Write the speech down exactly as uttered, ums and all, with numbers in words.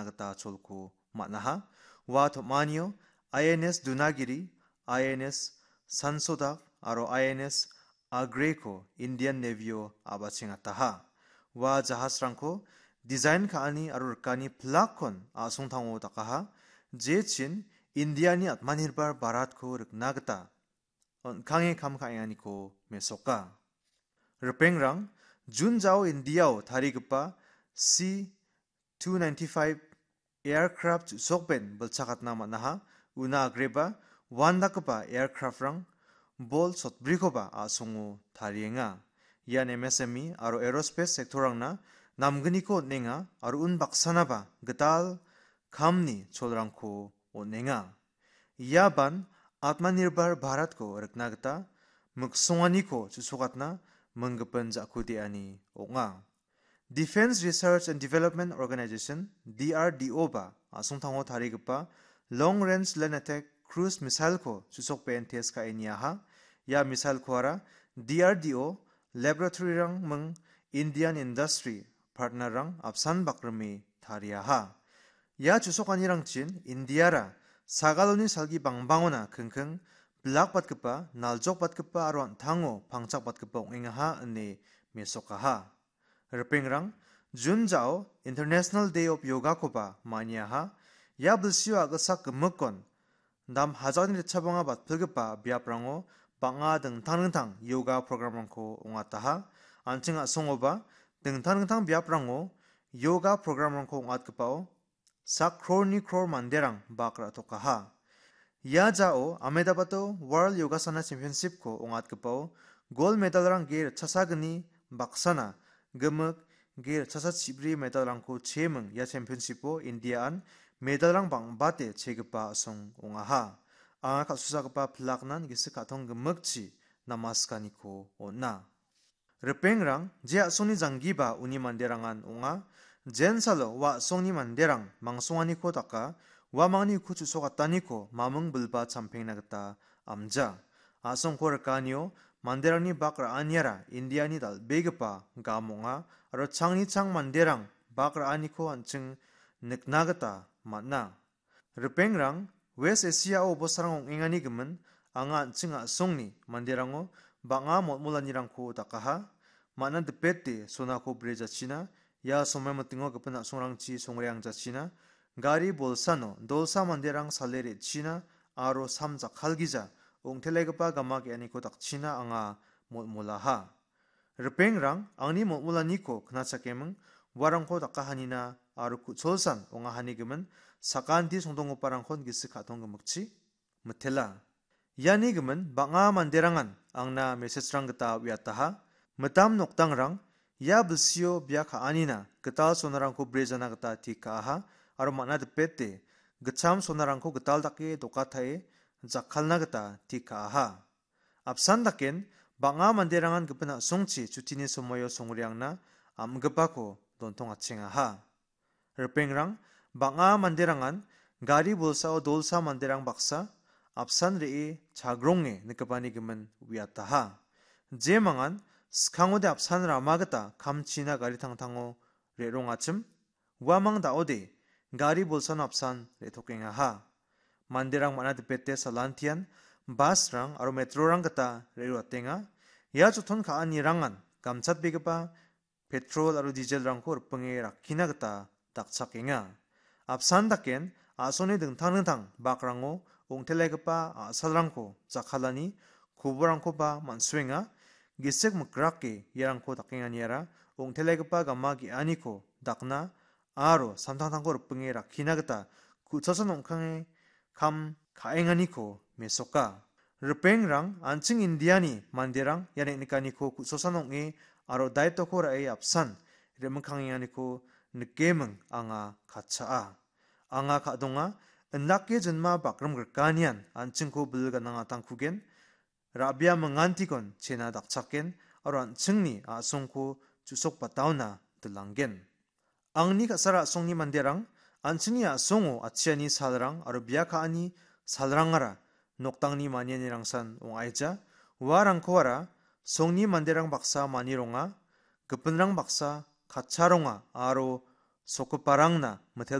gita cholko man·aha. Ua tom·anio I N S Dunagiri, I N S Sansodak aro I N S Agreko Indian Navy-o a·bachengataha. Ua jahasrangko dijain ka·ani aro rikani pilakkon a·songtango dakaha, jechin Indiani Atmanirbhar Bharatko rikna gita on·kange kam ka·enganiko mesoka. Ripengrang, Jun jao Indiao tarigipa C two ninety-five aircraft chu·sokben bilchakatna man·aha, una agreba uandakgipa aircraftrang Bol sotbrikoba a·songo tarienga. Ian M S M E aro aerospace sectorrangna namgniko on·enga aro unbaksanaba gital kamni cholrangko on·enga. Iaban Atmanirbhar Bharatko rikna gita miksonganiko chu·sokatna minggipin ja·kudeani ong·a. Defense Research and Development Organization, D R D O ba, a·songtango tarigipa Long Range Land Attack Cruise Missile-ko chu·sokben test ka·e niaha. Ia missile-koara D R D O laboratory-rang ming Indian industry partner-rang apsan bakrime tariaha. Ia chu·sokanirangchin Indiara sagaloni salgi bangbangona kingking bilakbatgipa, naljokbatgipa aro an·tango pangchakbatgipa ong·engaha ine mesokaha. Ripengrang, Jun jao International Day of Yoga-koba maniaha. Ia bilsio a·gilsak gimikon dam hajakni ritchabanga batpilgipa biaprango bang·a dingtang dingtang yoga programrangko ong·ataha. An·ching a·songoba dingtang dingtang biaprango yoga programrangko ong·atgipao sak krorni kror manderang bak ra·tokaha. Ia jao Ahmedabado World Yogasana Championship-ko ong·atgipao gold medalrang ge ritchasagni baksana gimik ge ritchasa chibri medalrangko cheming ia championship-o Indiaan medalrang bang·bate chegipa a·song ong·aha. Anga kal·susagipa pilaknan gisik ka·tong gimikchi namaskaniko on·a. Ripengrang, je a·songni janggiba uni manderangan ong·a. Jensalo ua a·songni manderang mangsonganiko daka, uamangni uko chu·sokataniko maming bilba champengna gita amja. A·songko rikanio manderangni bak ra·aniara Indiani dal·begipa gam ong·a, aro changni chang manderang bak ra·aniko an·ching nikna gita man·a. Ripengrang, West Asia-o bosarang ong·engani gimin, anga an·ching a·songni manderango bang·a motmolanirangko dakaha. Man·a dipete sonako brejachina, ia somai mitingo gipin a·songrangchi songreangjachina, gari bolsano dolsa manderang sale re·china aro sam jakkalgija ong·telegipa gama ge·aniko dakchina anga motmolaha. Ripengrang, angni motmolaniko knachakeming, uarangko dakahanina aro ku·cholsan ong·ahani gimin, sakanti songdonggiparangkon gisik ka·tong gimikchi mitela. Iani gimin bang·a manderangan angna message-rang gita uiataha. Mitam nokdangrang, ia bilsio bia ka·anina gital sonarangko brejana gita tik ka·aha aro man·a dipete gitcham sonarangko gital dake dokatae jakkalna gita tik ka·aha. Apsan daken bang·a manderangan gipin a·songchi chutini somoio songreangna am·gipako dontongachengaha. Ripengrang, bang·a manderangan gari bolsao dolsa manderang baksa apsan re·e chagronge nikgipani gimin uiataha. Jemangan skangode apsan rama gita kamchina gari tangtango re·rongachim, uamang da·ode gari bolsano apsan re·tokengaha. Manderang man·a dipete salantian bus-rang aro metro-rang gita re·roatenga. Ia joton ka·anirangan gamchatbegipa petrol aro diesel-rangko ripinge rakkina gita dakchakenga. Apsan daken a·songni dingtang dingtang bakrango ong·telegipa a·salrangko jakkalani koborangkoba man·suenga. Gisik mikrake iarangko dakenganiara ong·telegipa gama ge·aniko dakna aro samtangtangko ripinge rakkina gita ku·cholsan ong·kange kam ka·enganiko mesoka. Ripengrang, an·ching Indiani manderang ia neng·nikaniko ku·cholsan ong·e aro daitoko ra·e apsan re·mikkangenganiko nikeming anga katchaa. Anga ka·donga, indake jinma bakrim grikanian an·chingko bil ganangatangkugen, ra·bia mingantikon chena dakchaken aro an·chingni a·songko chu·sokbataona dilanggen. Angni ka·sara a·songni manderang, an·chingni a·songo atchiani salrang aro bia ka·ani salrangara nokdangni manianirangsan ong·aija. Uarangkoara songni manderang baksa manironga, gipinrang baksa katcharonga aro sokgiparangna mitel